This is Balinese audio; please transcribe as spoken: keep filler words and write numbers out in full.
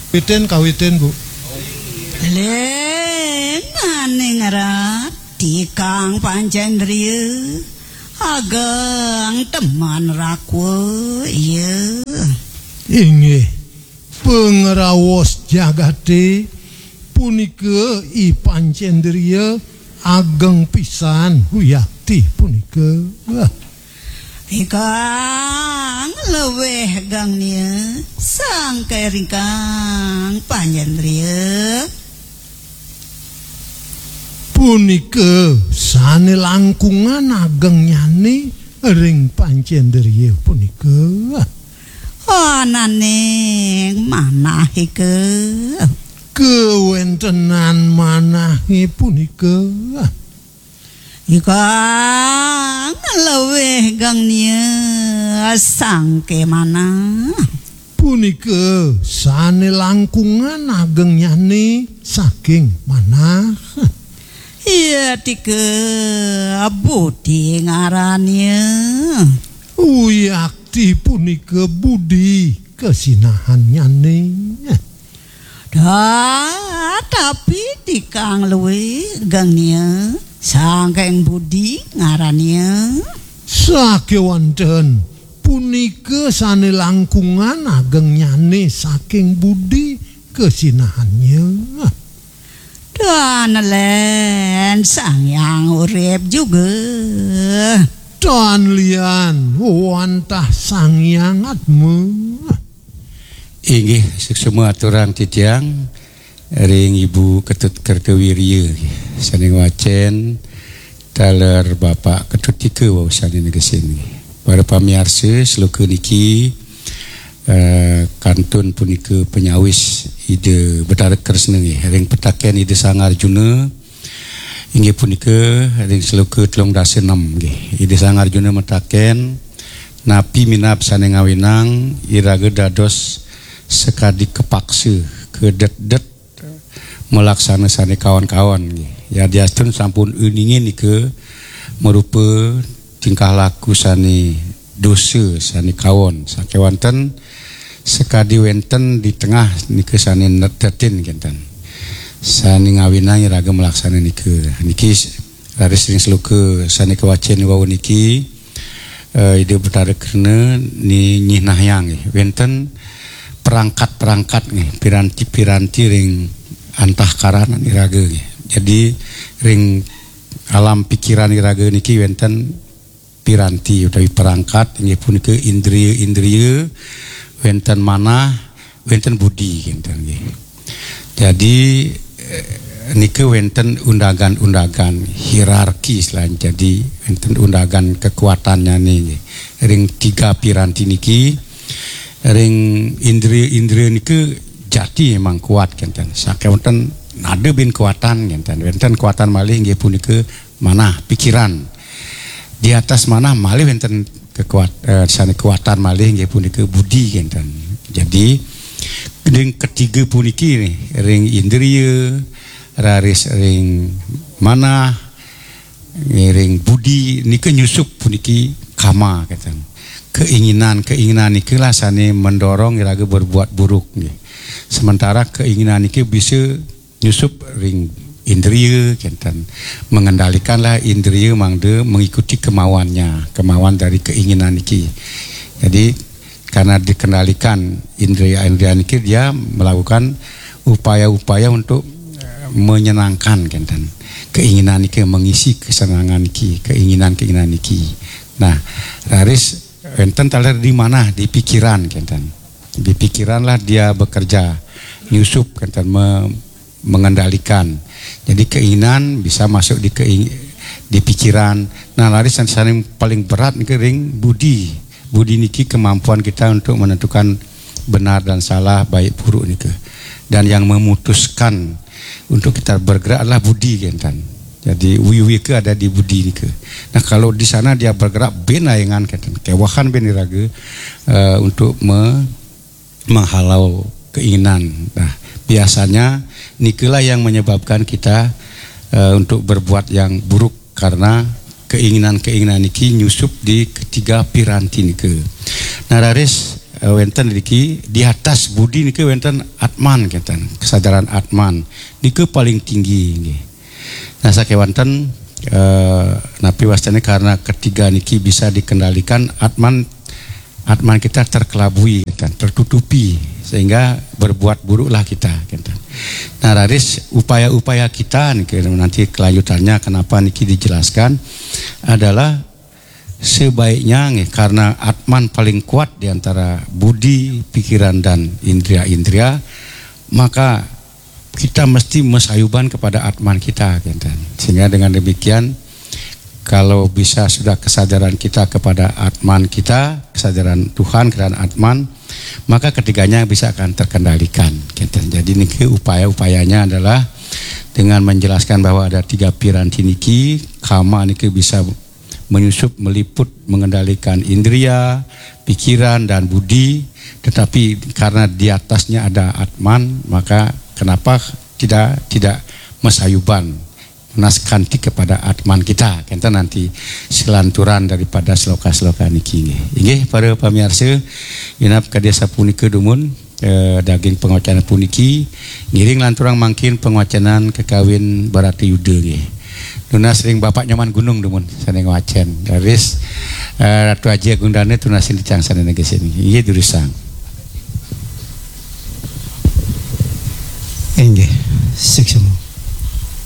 Kawitin, kawitin, Bu. Ling aning rat, tikang pancendria, ageng teman rakwa, iya. Inggih, pangraos jagate punika I Pancendria ageng pisan wiakti punika. Ikang luwih gangnia, sangke ringkang pancendria. Punika sane langkungan agengnyane ring pancendria punika. Ananing manahika. Kawentenan manahe punika. Ikang luwih gangnia sangke manah. Punika sane langkungan agengnyane saking manah. Iya tika budi ngarania. Wiakti punika budi kasinahannyane. Dah, tapi tikang luwih gangnia, sangking budi ngarania. Sakewanten punika sane langkungan agengnyane saking budi kasinahannya. Dan len Sang Hyang Urip juga. Tan lian wantah Sang Hyang Atma. Inggih, suksma aturang titiang ring Ibu Ketut Kertawirya, sane ngwacen taler Bapak Ketut Tika wau sane negesin. Para pamiarsa, sloka niki, eh, kantun punika panyawis Ida Betara Kresna nggih, ring pitaken Ida Sang Arjuna, inggih punika ring sloka telung dasa enam nggih. Ida Sang Arjuna mataken, "Napi minab sane ngawinang iraga dados sakadi kapaksa, kadetdet, malaksana sane kaon-kaon nggih. Yadiastun sampun uningin nika marupa tingkah laku sane dosa, sane kaon. Sakewanten sakadi wenten di tengah nika sane netetin kenten. Sane ngawinang iraga malaksana nika." Niki raris ring sloka sane kawacen wau niki, eh, Ida Betara Kresna ni-, nyihnayang nggih. Wenten perangkat-perangkat nggih, piranti-piranti ring antahkaran iraga nggih. Jadi ring alam pikiran iraga niki wenten piranti utawi perangkat, inggih punika indria-indria, wenten manah, wenten budi, kenten nggih. Jadi, eh, nika wenten undagan-undagan hierarki selain jadi wenten undagan kekuatannya nggih. Ring tiga piranti niki, ring indria-indria nika jati memang kuat kenten. Sakewanten nada bin kuatan kenten. Wenten kuatan malih inggih punika manah, pikiran. Di atas manah malih wenten kekuat-, eh, sane kuatan malih inggih punika budi kenten. Jadi ring ketiga puniki nih, ring indria, raris ring manah, ring budi nika nyusup puniki kama kenten. Keinginan-keinginan nikalah sane mendorong iraga berbuat buruk nggih. Sementara keinginan niki bisa nyusup ring indria kenten, mengendalikanlah indria mangda mengikuti kemauannya, kemauan dari keinginan niki. Jadi karena dikendalikan indria-indria niki, dia melakukan upaya-upaya untuk, eh, menyenangkan kenten keinginan niki, mengisi kesenangan niki, keinginan-keinginan niki. Nah, raris wenten taler di manah, di pikiran kenten. Di pikiranlah dia bekerja, nyusup kenten, me-, mengendalikan. Jadi keinginan bisa masuk di keing-, di pikiran. Nah, raris sane paling berat niki ring budi. Budi niki kemampuan kita untuk menentukan benar dan salah, baik buruk nika. Dan yang memutuskan untuk kita bergerak adalah budi kenten. Jadi wiwika ada di budi nika. Nah, kalau di sana dia bergerak bin aengan kenten, kewahan bin iraga, eh, untuk me-, menghalau keinginan. Nah, biasanya nikalah yang menyebabkan kita, eh, untuk berbuat yang buruk karena keinginan-keinginan niki nyusup di ketiga piranti nika. Nah, raris, eh, wénten niki di atas budi niki wénten atman, kénten, kesadaran atman. Niku paling tinggi nggih. Nah, sakéwanten, eh, napi wastane karena ketiga niki bisa dikendalikan, atman atman kita terkelabui, kénten, tertutupi, sehingga berbuat buruklah kita, kénten. Nah, raris upaya-upaya kita niki nanti kelanjutannya kenapa niki dijelaskan adalah sebaiknya nggih, karena atman paling kuat di antara budi, pikiran, dan indria-indria, maka kita mesti masayuban kepada atman kita, kénten. Sehingga dengan demikian, kalau bisa sudah kesadaran kita kepada atman kita, kesadaran Tuhan, kesadaran atman, maka ketiganya bisa akan terkendalikan, kénten. Jadi niki upaya-upayanya adalah dengan menjelaskan bahwa ada tiga piranti niki, kama niki bisa menyusup, meliput, mengendalikan indria, pikiran, dan budi. Tetapi karena di atasnya ada atman, maka kenapa tidak tidak masayuban, naskanti kepada atman kita, kénten, nanti selanturan daripada sloka-sloka niki nggih. Inggih, para pamiarsa, genep kadi sapunika dumun, eh, daging pangocanan puniki, ngiring lanturang mangkin pangocanan kakawin Baratayuda nggih. Nunas ring Bapak Nyoman Gunung dumun sane ngwacen. Raris, eh, Ratu Aji Agung Dane tunas ring titiang sane negesin. Inggih, durusang. Inggih, suksma.